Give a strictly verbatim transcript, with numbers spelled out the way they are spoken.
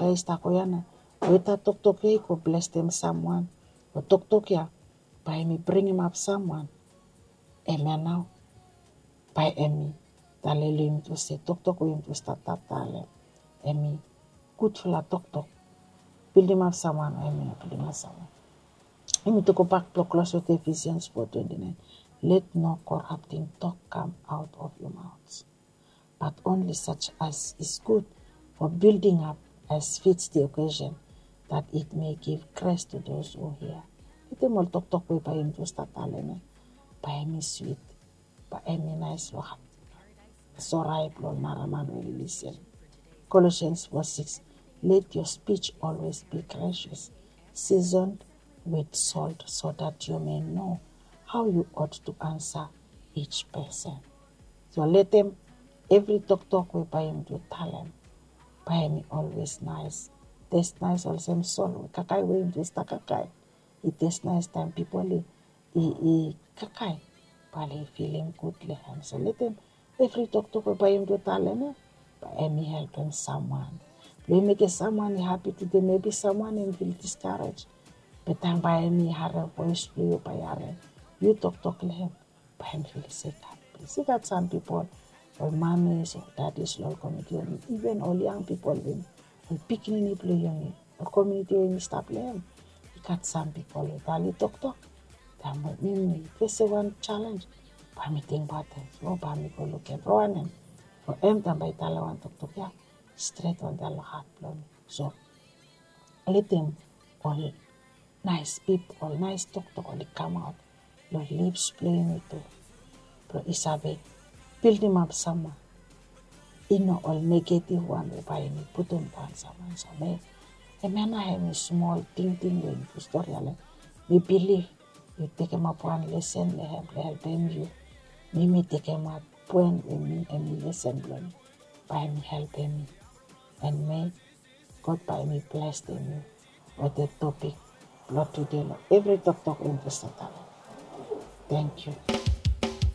i stap go ya na weta toktok ya i go blestem samwan, o toktok ya bae hemi bringim ap samwan. Hemia nao bae hemi talem long yumi tu se toktok we yumi tu stap talem hemi gudfala toktok. Bildimap samwan o hemi no bildimap samwan. Yumi tu gobak blong klos wetem Ephesians four twenty-nine. Let no corrupting talk come out of your mouths, but only such as is good for building up, as fits the occasion, that it may give grace to those who hear. Letem ol toktok we bae yumi tu stap talem ya bae hemi swit, bae hemi naes long hat, sore blong ol nara man we oli lisen. Colossians four six. Let your speech always be gracious, seasoned with salt, so that you may know how you ought to answer each person. So letem evri toktok we bae yumi tu talem bae hemi olwes naes. Tes naes olsem sol we kakae we yumi tu stap kakae. I tes naes taem pipol i, i kakae, bae oli filim gud long hem. So letem evri toktok we bae yumi tu talem ya bae hemi helpem samwan. Blong i mekem samwan i hapi tude, mebi samwan hemi fil diskarej. Be taem bae hemi harem voes blong yu, bae i harem yu toktok long hem, bae hemi fil se i gat plis. I gat sam pipol, ol mamis o dadis long ol komuniti we hemi, iven ol yang pipol we hemi, ol pikinini blong yumi, ol komuniti we yumi stap long hem. I gat sam pipol we bae oli toktok taem we yumi fesem wan jalenj, bae mi tingbaot hem, o bae mi go lukim, ron hem. O hem taem bae i talem wan toktok ya, stret wantaem long hat blong mi. So letem ol naes pip, ol naes toktok oli kamaot long lips blong yumi tu, blong i save bildimap samwan. I no ol negative wan we bae yumi putum daon samwan. So mi, hemia nao hemi smol tingting we yumi tu stori ya long hem. Mi bilif yu tekemap wan lesen long hem blong helpem yu. Mi, mi tekemap poen we mi, hemi lesen blong mi, bae hemi helpem mi. And mi, God bae hemi blesem yu wetem topik blong tude long evri toktok we yumi tu stap talem. Tangkiu.